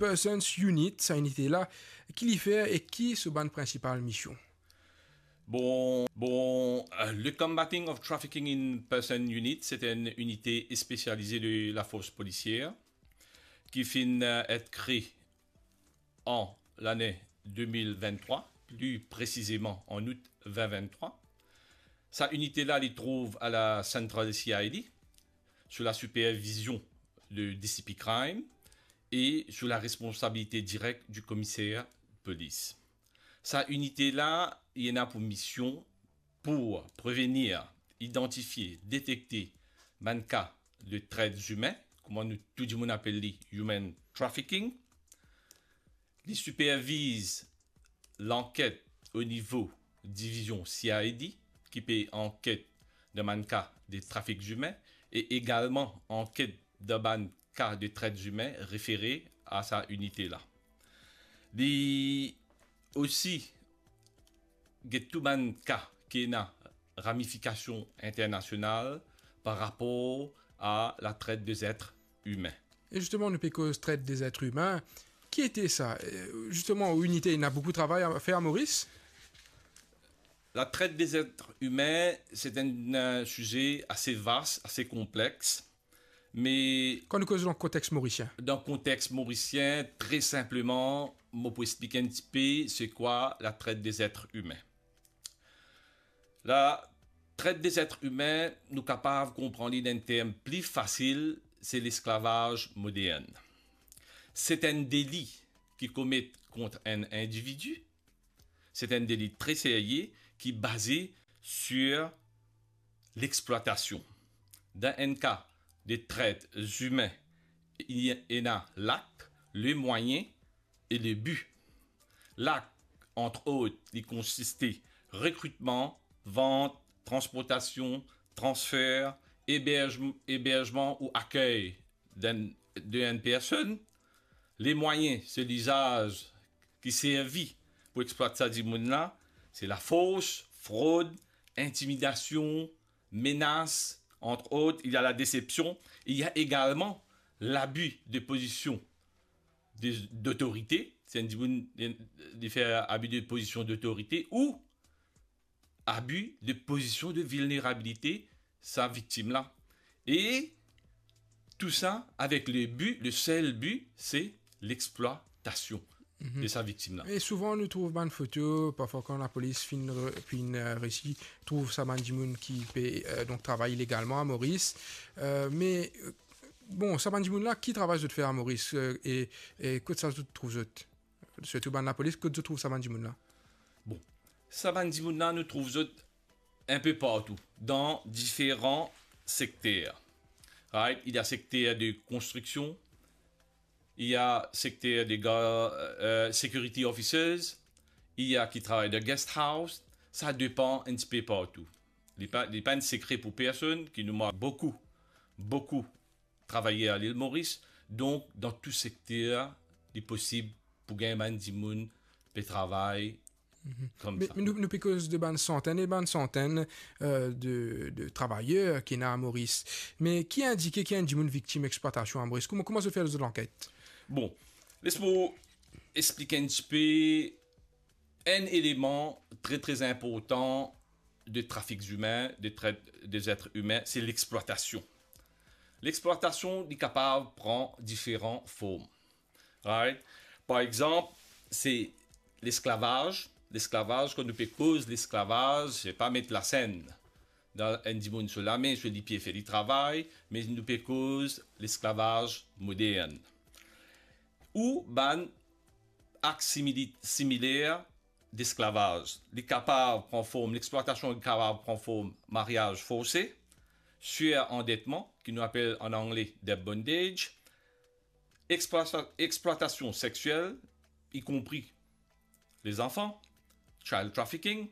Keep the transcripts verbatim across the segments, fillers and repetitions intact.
Persons Unit, sa inite la, ki li fer e ki so bann prinsipal mision? Bon, bon, euh, le Combating of Trafficking in Person Unit, se enn inite spesialize de lafors polisier ki finn, euh, et kree an lane de mil venntrwa, pli presizeman an out vin venntrwa. Sa inite la, li trouv a la Central C I D, sou la sipervizion de D C P Crime e sou la responsabilite direk di komiser polis. Sa inite la, li ena pou mision pou prevenir, idantifie, detekte bann ka de tret zimin, kouma nou tou dimoun apel li human trafficking. Li siperviz lanket o nivo divizion C I D, ki pe anket dan bann ka de trafik zimin, e egalman anket dan bann ka de tret zimin refere a sa inite la. Li osi get tou bann ka ki ena ramifikasion internasional par rapor a la tret de zetre imin. E zisteman, nou pe koz tret de zetre imin. Ki ete sa? E, zisteman, ou inite, ena boukou travay a fer a Moris? La tret de zetre imin, se enn, euh, size ase vas, ase konplex, me kan nou koz dan kontex morisien? Dan kontex morisien, tre sinpleman, mo pou explike enn tipe se kwa la tret de zetre imin. La tret de zetre imin, nou kapav konpran li dan enn term pli fasil, se lesklavaz modern. Se enn deli ki komet kont enn individi, se enn deli tre serye ki baze sir lexplwatasion. Dan enn ka de tret zimin, li ena lak, le mwayin e le bi. Lak, ant ot, li konsiste rekritman, vant, transportasion, transfer, eberz-, eberzman ou akey d'enn, de enn personn. Le mwayin, se lizaz ki servi pou explwat sa dimoun la, se lafors, frod, intimidasion, menas, ant ot, il y a la desepsion, il y a egalman labi de pozision de, dotorite, se enn dimoun, li fer abi de pozision dotorite ou abi de pozision de vilnerabilite sa viktim la. E tou sa avek le bi, le sel bi, se lexplwatasion Mhm. de sa viktim la. E souvan nou trouv bann foto, parfwa kan lapolis finn re-, finn, euh, resi trouv sa bann dimoun ki pe, euh, donk travay ilegalman a Moris. Euh, me, euh, bon, sa bann dimoun la, ki travay zot fer a Moris, euh, e, e kot sa zot trouv zot? Sirtou bann lapolis, kot zot trouv sa bann dimoun la? Bon, sa bann dimoun la, nou trouv zot enpe partou, dan diferan sekter. Right? Il y a sekter de konstriksion, il y a sekter de gar-, euh, security officers, il y a ki travay dan guest house, sa depan enn tipe partou. Li pa, li pa enn sekre pou personn ki nou mank boukou, boukou travayer a Lil Moris. Donk, dan tou sekter, li posib pou gagn bann dimoun pe travay Mhm. Koumsa. Me, me nou, nou pe koz de bann santenn e bann santenn, euh, de, de travayer ki ena a Moris. Me ki indike ki enn dimoun viktim explwatasion a Moris? Kouma, kouma zot fer zot lanket? Bon, les mo explike enn tipe enn eleman tre, tre inportan de trafik zimin, de tret de zetre imin, se lexplwatasion. Lexplwatasion, li kapav pran diferan form. Right? Par exanp, se lesklavaz. Lesklavaz, kan nou pe koz lesklavaz, se pa met lasenn dan enn dimoun so lame, so lipie, fer li travay, me nou pe koz lesklavaz modern. Ou bann ak simili-, similer desklavaz. Li kapav pran form, lexplwatasion li kapav pran form maryaz forse, sirandetman, ki nou apel an angle debt bondage, explwata-, explwatasion sexiel, y compris les enfants, child trafficking,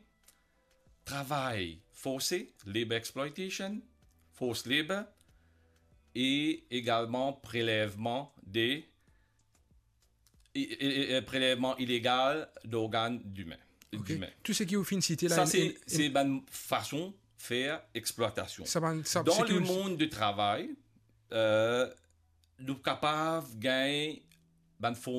travay forse, labor exploitation, forced labor, e egalman prelevman de, e, e, e, prelevman ilegal d'organ dimin, Ok. dimin. Tou seki ou finn site la, Sa, en, se, en, se bann fason fer explwatasion. Sa bann, sa, Dan seki le ou mond de travay, euh, nou kapav gagn bann form